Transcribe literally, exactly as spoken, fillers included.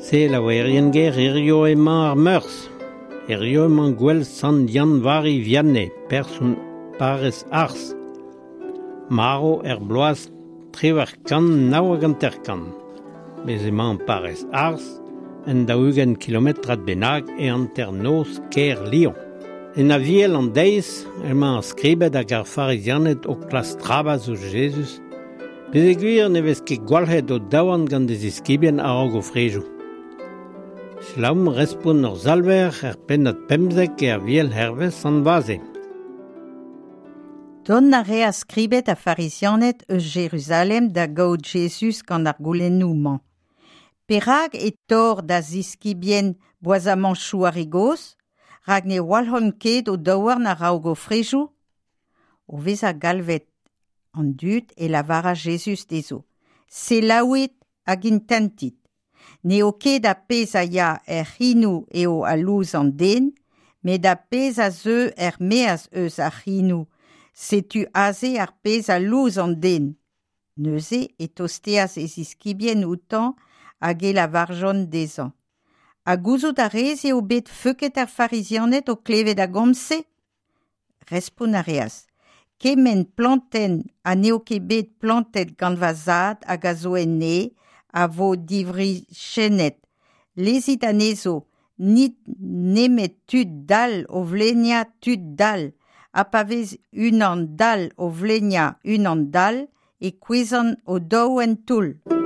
Selaouerien ger hirio emañ ar Meurzh. Hirio emañ gwell Sant Yann-Vari Vianney, person parrez Ars. Maro er bloaz triwec'h kant nav hag hanter-kant. Bez emañ parrez Ars, en daou-ugent kilometrad bennak e hanternoz kêr Lyon. En aviel an deiz emañ ar skribed hag ar farizianed o klask trabas ouzh Jezuz, peogwir ne vez ket gwalc'het o daouarn gant e ziskibien a-raok o frejoù. Selaomp respont hor Salver er pennad pemzek e aviel hervez Sant Vaze. Dont a reas skribed ha farizianed eus Jeruzalem da gaout Jezuz gant ar goulennoù-mañ. Perak e torr da ziskibien boazamantoù ar re gozh? Rak ne walc'hont ket o daouarn a-raok o frejoù? O vezañ galvet an dud e lavaras Jezuz dezho. Selaouit hag intentit. N'eo ket ar pezh a ya er c'hinoù eo a louz an den, met ar pezh a zeu er-maez eus ar c'hinoù. Setu aze ar pezh a louz an den. Neuze e tosteas e ziskibien outañ hag e lavarjont dezhañ. Ha gouzout a rez eo bet feuket ar farizianed o klevet ar gomz-se? Respont a reas. Kement plantenn ha n'eo ket bet plantet gant va zad hag a zo en neñv a vo diwriziennet. Lezit anezho, n'int nemet tud dall o vleiniañ tud dall. Ha pa vez unan dall o vleiniañ unan dall, e kouezhont o-daou en toull.